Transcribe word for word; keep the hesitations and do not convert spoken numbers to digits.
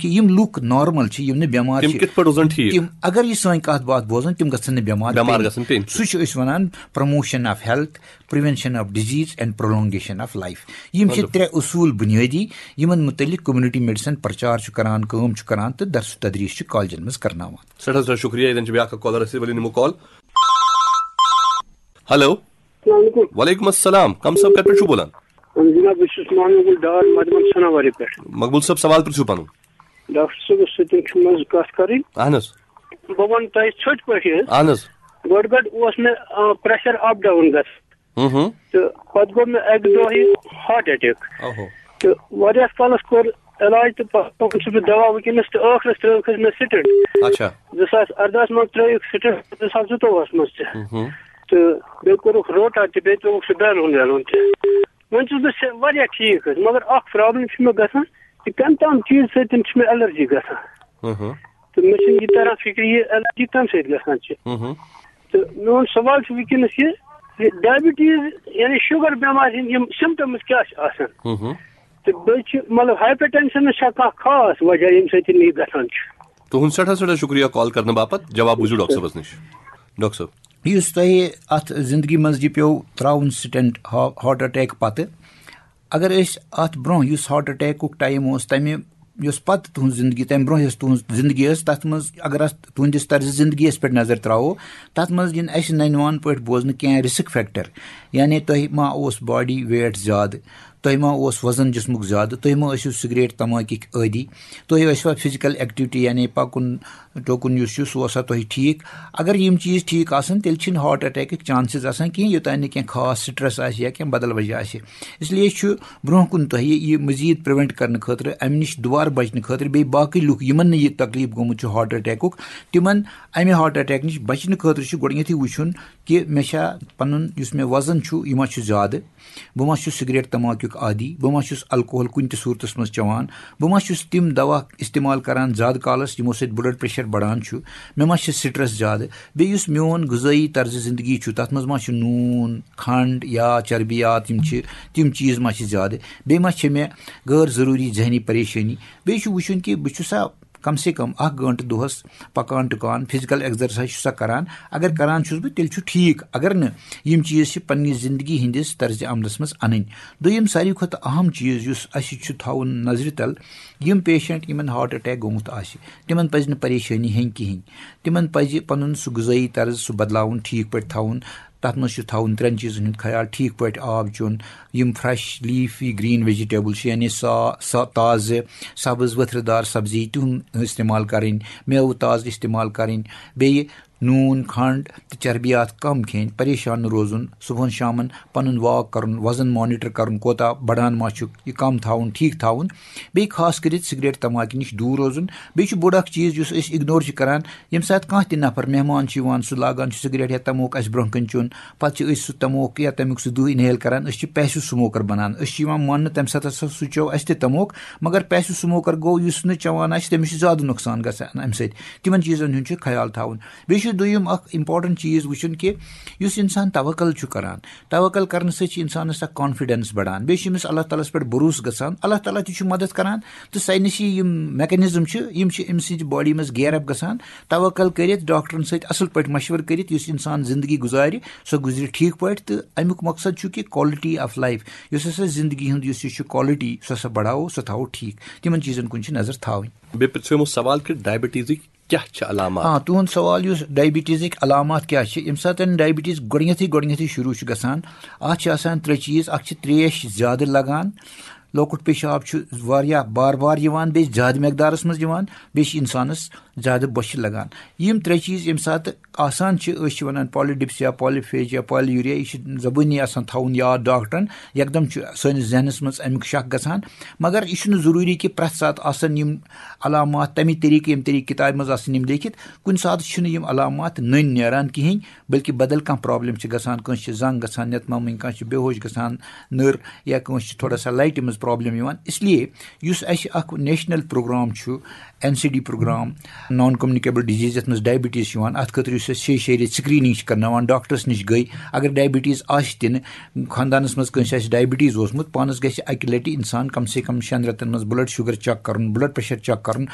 یِم لُکھ نارمل چھِ، یِم نہٕ بٮ۪مار تِم چھِ، کِتھ پٲٹھۍ روزن ٹھیٖک؟ تِم اگر یہِ سٲنۍ کَتھ باتھ بوزن، تِم گژھن نہٕ بٮ۪مار بٮ۪مار پیٚنۍ۔ گژھن پیٚنۍ۔ سُہ چھُ أسۍ وَنان promotion of health, prevention of disease and prolongation of life۔ یِم چھِ مطلب؟ ترٛےٚ اصوٗل بُنیٲدی، یِمن مُتعلِق community medicine پرچار چھُ کران، کٲم چھُ کران تہٕ درس و تدریس چھُ کالجن منٛز کرناوان۔ سٮ۪ٹھاہ سٮ۪ٹھاہ شُکریہ۔ ییٚتٮ۪ن چھِ بیٛاکھ اکھ caller اَسہِ سۭتۍ، ؤلِو نِمو call۔ ہیلو۔ السلام علیکم۔ وعلیکم السلام۔ کم صٲب، کَتہِ پٮ۪ٹھ چھُو بولان؟ اہن جناب، بہٕ چھُس محمد گل ڈار مدمن سناواری پٮ۪ٹھ۔ مقبول صٲب، سوال پرٛژھِو پنُن۔ ڈاکٹر صٲبس سۭتۍ چھُ منٛزٕ کتھ کرٕنۍ۔ اہن حظ۔ بہٕ ونہٕ تۄہہِ ژھوٚٹۍ پٲٹھۍ حظ۔ اہن حظ۔ گۄڈٕ گۄڈٕ اوس مےٚ، آ، pressure up down گژھان۔ ہُم ہُم۔ تہٕ پتہٕ گوٚو مےٚ اکہِ دۄہ یہِ heart attack۔ اوہو۔ تہٕ واریاہس کالس کوٚر علاج تہٕ پتہٕ اوسُس بہٕ دوا وٕنکیٚنس تہٕ ٲخرس ترٲوٕکھ حظ مےٚ stent۔ اچھا۔ زٕ ساس اردہس منٛز ترٲوٕکھ stent، زٕ ساس زٕتووُہس منٛز تہِ۔ ہُم ہُم۔ تہٕ بیٚیہِ کوٚرُکھ روٹا تہِ، بیٚیہِ ترٛووُکھ سُہ balloon ویلون تہِ۔ وۄنۍ چھُس بہٕ سے-، واریاہ ٹھیٖک حظ، مگر اکھ problem چھِ مےٚ گژھان کہِ کَمہِ تام چیٖز سۭتۍ چھِ مےٚ allergy گژھان۔ ہُم ہُم۔ تہٕ مےٚ چھُنہٕ یہِ تران فِکرِ، یہِ allergy کَمہِ سۭتۍ گژھان چھِ۔ ہُم ہُم۔ تہٕ میون سوال چھُ وٕنکیٚنَس یہِ زِ diabetes یعنی sugar بٮ۪مارِ ہِنٛدۍ یِم symptoms کیٛاہ چھِ آسان؟ ہُم ہُم۔ تہٕ بیٚیہِ چھِ مطلب hypertensionس چھا کانٛہہ خاص وجہ ییٚمہِ سۭتۍ یہِ گژھان چھُ؟ تُہُنٛد سٮ۪ٹھاہ سٮ۪ٹھاہ شُکریہ call کرنہٕ باپتھ۔ جواب بوٗزِو ڈاکٹر صٲبَس نِش۔ ڈاکٹر صٲب۔ یُس تۄہہِ اَتھ زِندگی منٛز یہِ پیوٚو ترٛاوُن stent ہا-، heart attack پتہٕ، اگر أسۍ اَتھ برونٛہہ یُس heart attackُک time اوس، تَمہِ یُس پتہٕ تُہٕنٛز زِندگی، تَمہِ برونٛہہ یۄس تُہٕنٛز زِندگی ٲس، تَتھ منٛز اگر اَتھ تُہٕنٛدِس طرزِ زِندگی یَس پٮ۪ٹھ نظر ترٛاوو، تَتھ منٛز یِن اَسہِ نَنہِ وان پٲٹھۍ بوزنہٕ کینٛہہ risk factor، یعنی تۄہہِ ما اوس body weight زیادٕ، تۄہہِ ما اوس وزن جسمُک زیادٕ، تُہۍ ما ٲسِو سگریٹ تماکِکۍ عٲدی، تۄہہِ ٲسوا physical activity یعنی پکُن ٹوکُن یُس چھُ سُہ اوسا تۄہہِ ٹھیٖک؟ اگر یِم چیٖز ٹھیٖک آسن، تیٚلہِ چھِنہٕ heart attackٕکۍ chances آسان کینٛہہ، یوٚتام نہٕ کینٛہہ خاص stress آسہِ یا کینٛہہ بدل وجہ آسہِ۔ اس لیے چھُ برونٛہہ کُن تۄہہِ یہِ مزید prevent کرنہٕ خٲطرٕ، امہِ نِش دُبارٕ بچنہٕ خٲطرٕ، بیٚیہِ باقٕے لُکھ یِمن نہٕ یہِ تکلیف گوٚمُت چھُ heart attackُک، تِمن امہِ heart attack نِش بچنہٕ خٲطرٕ چھُ گۄڈٕنیتھٕے وٕچھُن کہِ مےٚ چھا پنُن یُس مےٚ وزن چھُ، یہِ ما چھُ زیادٕ، بہٕ ما چھُس سگریٹ تماکیُک عادی، بہٕ ما چھُس الکوہل کُنہِ تہِ صوٗرتس منٛز چٮ۪وان، بہٕ ما چھُس تِم دوا استعمال کران زیادٕ کالس یِمو سۭتۍ blood pressure بڑان چھُ، مےٚ ما چھِ stress زیادٕ، بیٚیہِ یُس میون غذٲیی طرزِ زندگی چھُ، تتھ منٛز ما چھُ نوٗن، کھنڈ یا چربیات یِم چھِ، تِم چیٖز ما چھِ زیادٕ، بیٚیہِ ما چھِ مےٚ غٲر ضروٗری ذہنی پریشٲنی۔ بیٚیہِ چھُ وٕچھُن کہِ بہٕ چھُسا کم سے کم اکھ گٲنٹہٕ دۄہس پکان ٹُکان، physical exercise چھُسا کران؟ اگر کران چھُس بہٕ، تیٚلہِ چھُ ٹھیٖک۔ اگر نہٕ، یِم چیٖز چھِ پننہِ زندگی ہٕنٛدِس طرزِ عملس منٛز انٕنۍ۔ دوٚیِم ساروی کھۄتہٕ اہم چیٖز یُس اسہِ چھُ تھاوُن نظرِ تل، یِم patient یِمن heart attack گوٚمُت آسہِ، تِمن پزِ نہٕ پریشٲنی ہیٚنۍ کِہیٖنۍ۔ تِمن پزِ پنُن سُہ غذٲیی طرز سُہ بدلاوُن، ٹھیٖک پٲٹھۍ تھاوُن۔ تتھ منٛز چھُ تھاوُن ترٛٮ۪ن چیٖزن ہُنٛد خیال، ٹھیٖک پٲٹھۍ آب چیوٚن، یِم fresh leafy green vegetable چھِ، یعنی سا-، سا-، تازٕ سبٕز ؤتھرٕ دار سبزی، تِہُنٛد استعمال کرٕنۍ، میوٕ تازٕ استعمال کرٕنۍ، بیٚیہِ نوٗن، کھنڈ تہٕ چربیات کم کھیٚنۍ، پریشان نہٕ روزُن، صبحن شامن پنُن walk کرُن، وزن monitor کرُن، کوتاہ بڑان ما چھُ، یہِ کم تھاوُن، ٹھیٖک تھاوُن، بیٚیہِ خاص کٔرِتھ سگریٹ تماکہِ نِش دوٗر روزُن۔ بیٚیہِ چھُ بوٚڑ اکھ چیٖز یُس أسۍ ignore چھِ کران، ییٚمہِ ساتہٕ کانٛہہ تہِ نفر مہمان چھُ یِوان، سُہ لاگان چھُ سگریٹ یا تموک اَسہِ برونٛہہ کَنہِ چیوٚن، پَتہٕ چھِ أسۍ سُہ تموک یا تَمیُک سُہ دٕہ inhale کران، أسۍ چھِ passive smoker بَنان۔ أسۍ چھِ یِوان ماننہٕ تَمہِ ساتہٕ ہسا سُہ چیوٚو اَسہِ تہِ تموک، مگر passive smoker گوٚو یُس نہٕ چٮ۪وان آسہِ، تٔمِس چھُ زیادٕ نۄقصان گژھان اَمہِ سۭتۍ۔ تِمن چیٖزن ہُنٛد چھُ خیال تھاوُن۔ بیٚیہِ چھُ دوٚیُم اکھ important چیٖز وٕچھُن کہِ یُس اِنسان توکل چھُ کران، توکل کرنہٕ سۭتۍ چھُ اِنسانَس اکھ confidence بڑان، بیٚیہِ چھُ أمِس اللہ تعالیٰ ہَس پٮ۪ٹھ بروسہٕ گژھان، اللہ تعالیٰ تہِ چھُ مدد کران، تہٕ ساینسی یِم mechanism چھِ، یِم چھِ أمۍ سٕنٛدِ body منٛز gear up گژھان۔ توکل کٔرِتھ، ڈاکٹرن سۭتۍ اَصٕل پٲٹھۍ مشورٕ کٔرِتھ، یُس اِنسان زندگی گُزارِ، سۄ گُزرِ ٹھیٖک پٲٹھۍ۔ تہٕ اَمیُک مقصد چھُ کہِ quality of life، یُس ہسا زندگی ہُنٛد یُس یہِ چھُ quality، سۄ ہسا بڑاوو، سۄ تھاوو ٹھیٖک۔ تِمن چیٖزن کُن چھِ نظر تھاوٕنۍ۔ بیٚیہِ پرٛژھو یِمو سوال کہِ diabetesٕکۍ کیٛاہ چھِ علامات؟ آ، تُہُنٛد سوال یُس diabetesٕکۍ علامات کیٛاہ چھِ، ییٚمہِ ساتہٕ diabetes گۄڈٕنیتھٕے، گۄڈٕنیتھٕے شروٗع چھُ گژھان، اَتھ چھِ آسان ترٛےٚ چیٖز۔ اکھ چھِ ترٛیش زیادٕ لگان، لۄکُٹ پیشاب چھُ واریاہ بار بار یِوان، بیٚیہِ زیادٕ مقدارس منٛز یِوان، بیٚیہِ چھِ اِنسانس زیادٕ بۄچھِ لگان۔ یِم ترٛےٚ چیٖز ییٚمہِ ساتہٕ آسان چھِ، أسۍ چھِ وَنان polydipsia، polyphagia، polyuria، یہِ چھِ زبٲنی آسان تھاوُن یاد ڈاکٹرن، یکدم چھُ سٲنِس ذہنس منٛز اَمیُک شک گژھان۔ مگر یہِ چھُنہٕ ضروٗری کہِ پرٛٮ۪تھ ساتہٕ آسن یِم علامات تَمی طریٖقہٕ، ییٚمہِ طریٖقہٕ کِتابہِ منٛز آسن یِم لیکھِتھ۔ کُنہِ ساتہٕ چھِنہٕ یِم علامات نٔنۍ نیران کِہیٖنۍ، بلکہِ بدل کانٛہہ problem چھِ گژھان، کٲنٛسہِ چھِ زنٛگ گژھان، نٮ۪تہٕ مامٕنۍ کانٛہہ چھِ بے ہوش گژھان، نٔر، یا کٲنٛسہِ چھِ تھوڑا سا لایٹہِ منٛز problem یِوان۔ اس لیے یُس اَسہِ اکھ national program چھُ، N C D program، non communicable disease، یَتھ منٛز diabetes چھُ یِوان، اَتھ خٲطرٕ یُس اَسہِ شیٚیہِ شیٚیہِ رٮ۪تۍ screening چھِ کرناوان، ڈاکٹرس نِش گٔے، اگر diabetes آسہِ تہِ نہٕ، خاندانس منٛز کٲنٛسہِ آسہِ diabetes اوسمُت، پانس گژھِ اَکہِ لٹہِ اِنسان کم سے کم شٮ۪ن رٮ۪تن منٛز blood sugar check کرُن، blood pressure check کرُن،